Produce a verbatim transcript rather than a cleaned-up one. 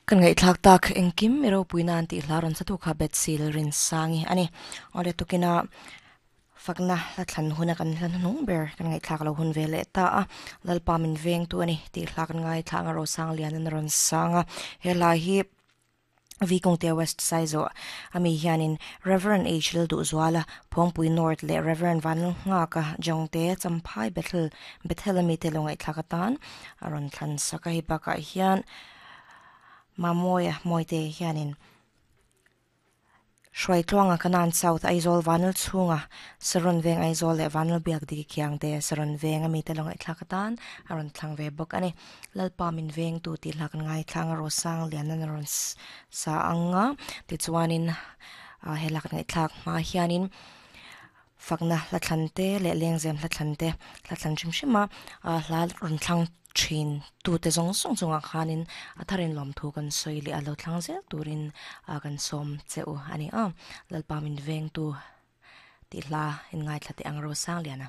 Kan ngai thlak tak engkim mi ropui nan tih hla rawn satu kha Betsy Lalrinsangi ani. Awle tukina fakna hla thlan huna kan hla hnung ber kan ngai thlak lo hun ve leh ta a. Lalpa min veng tu ani tih hla kan ngai thlak a Rosang lian an rawn sang a. He hla hi Vikongte West Saizo ami hianin Reverend H Lalduhzuala Phawngpui North leh Reverend Vanlalnghaka Jongte Champhai Bethel Bethel ami te lo ngaihthlak atan a rawn thlan sak a hei bakah hian Mamoia Mawite hianin Hruaitluanga Kanan South Aizawl Vanal chhunga Saron Veng Aizawl leh Vanal Biak Diki Khiangte Saron Veng ami te lo ngaihthlak atan a rawn thlang ve bawk ani. Lalpa min veng tu tih hla kan ngaithlang a Rosang lian an rawn sa anga tichuanin a he hla kan ngaihthlak hma hianin fakna hla thlan te leh lengzem hla thlan te hla thlan hrim hrim a a hla rawn thlang thin tu te zawng zawng chungah khanin a tharin lawm thu kan sawi leh a lo thlang zel turin a kan sawm che u ani a. Lalpa min veng tu tih hla in ngaithla teh ang Rosang lian a.